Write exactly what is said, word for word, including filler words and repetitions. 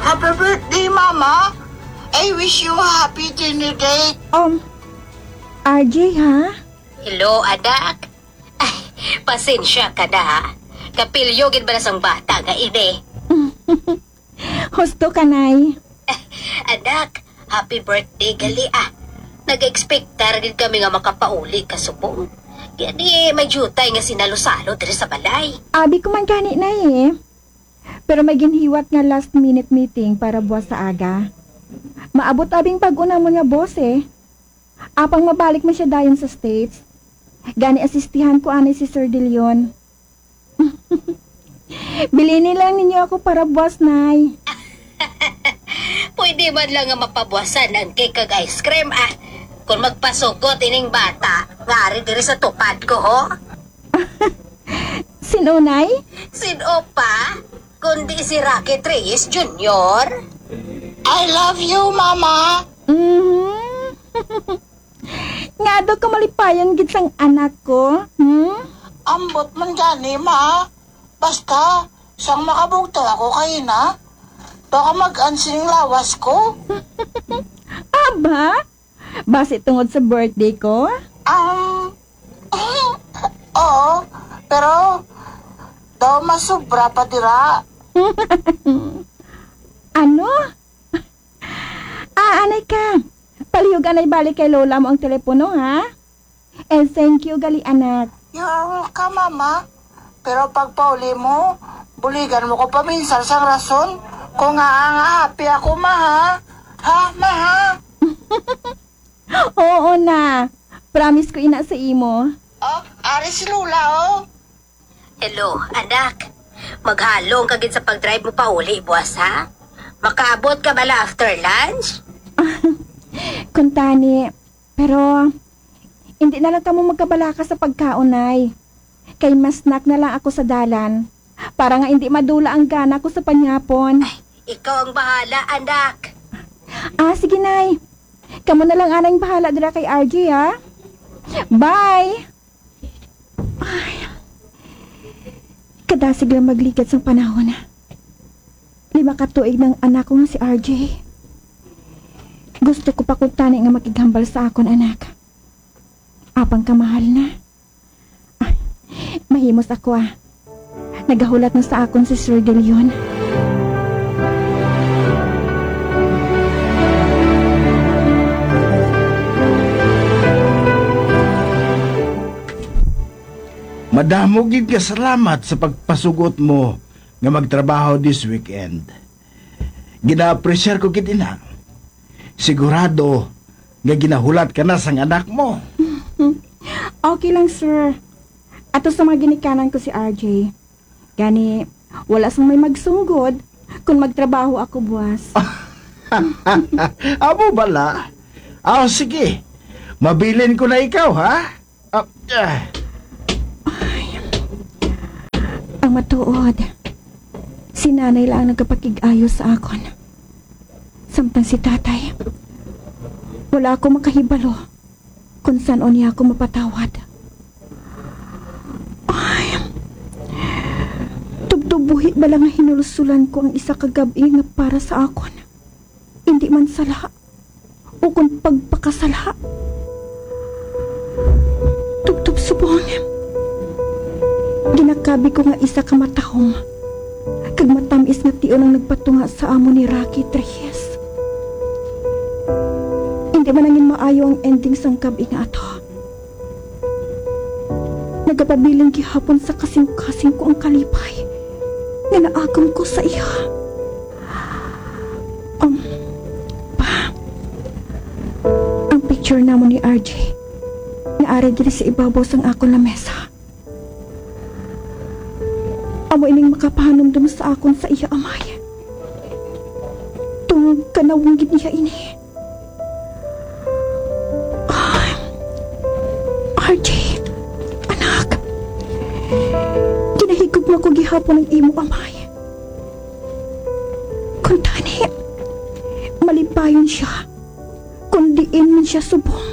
Happy birthday, Mama! I wish you a happy dinner date. Um, R J, ha? Hello, anak. Ay, pasensya ka na, ha? Kapilyo gid bala sang bata nga ini. Husto ka, Nay. Anak, happy birthday gali, ah. Nag-expectar gid kami nga makapauli ka subong. Gani, may diutay nga sinalo-salo diri sa balay. Abi ko man gani, Nay, eh. Pero may ginhiwat nga last minute meeting para buwas sa aga. Maabot abing bag-o namon nga boss, eh. Apang mabalik man siya dayon sa States. Gani asistihan ko anay si Sir De Leon. Bilini lang ninyo ako para buwas, Nay. Pwede man lang nga mapabuwasan ang cake kag ice cream, ah. Kung magpasugot ining bata, nga ari diri sa tupad ko, ho? Sin-o, Nay? Sin-o pa? Kundi si Rocky Reyes Junior. I love you, Mama. Mhm. Nga daw ka malipayon gid sang anak ko, hmm? Ambot man gani, Ma. Basta, sang makabugtaw ako kay ina, baka mag-an sining lawas ko. Aba, basi tungod sa birthday ko? Um, oo, pero daw mas sobra pa dira. Ano? Ah, anay ka. Palihog anay balik kay lola mo ang telepono, ha? And thank you gali, anak. You're welcome, Mama. Pero pagpauli mo, buligan mo ko paminsar sang rason kung nga nga happy ako, Ma, ha? Ha, Ma, ha? Oo na. Promise ko ina sa imo. Oh, ari si Lola, oh. Hello, anak. Maghalong ka gid sa pag-drive mo pauli buwas, ha? Makaabot ka bala after lunch? Kuntani, pero hindi na lang kamo magkabalaka sa pagkaon, Nay. Kay ma-snack na lang ako sa dalan, para nga hindi madula ang gana ko sa panyapon. Ay, ikaw ang bahala, anak. Ah, sige, Nay. Kamo na lang anang bahala dira kay R J, ha? Bye! Ay, kadasig lang magligad sang panahon. Lima ka tuig nang anak ko nga si R J. Gusto ko pa kuntani nga makighambal sa akon anak. Apang kamahal na. Ah, mahimos ako, ah. Nagahulat na sa akon si Sir De Leon. Madamo gid nga salamat sa pagpasugot mo nga magtrabaho this weekend. Gina-appreciate ko gid ina. Sigurado nga ginahulat ka na sang anak mo. Okay lang, sir. Ato sa mga ginikanan ko si R J. Gani, wala sang may magsunggod kung magtrabaho ako buwas. Amo bala? Ah, sige. Mabilin ko na ikaw, ha? Ah, ah. Ay. Ang matuod, si nanay lang ang nagapakig-ayo sa akon. Samtang si tatay, wala ako makahibalo kung san-o niya ako mapatawad. Ay, tubtob buhi bala nga hinulsulan ko ang isa ka gab-i nga para sa akon. Indi man sala, ukon pagpakasala. Tubtob subong, ginakabi ko nga isa ka matahom kag matam-is nga tion ang nagpatunga sa amo ni Rocky Reyes. Indi man nangin maayo ang ending sang gab-i nga ato. Nagapabilin gihapon sa kasing-kasing ko ang kalipay nga naagom ko sa iya. Um, pa, ang picture namon ni R J nga ari diri sa ibabaw sang akon lamesa. Amo ining makapahanumdom sa akon sa iya amay tungod kanawong gid niya ini. Ah, R J, anak, ginahigugma ko gihapon ang imo amay. Kuntani, malipayon siya kon diin man siya subong.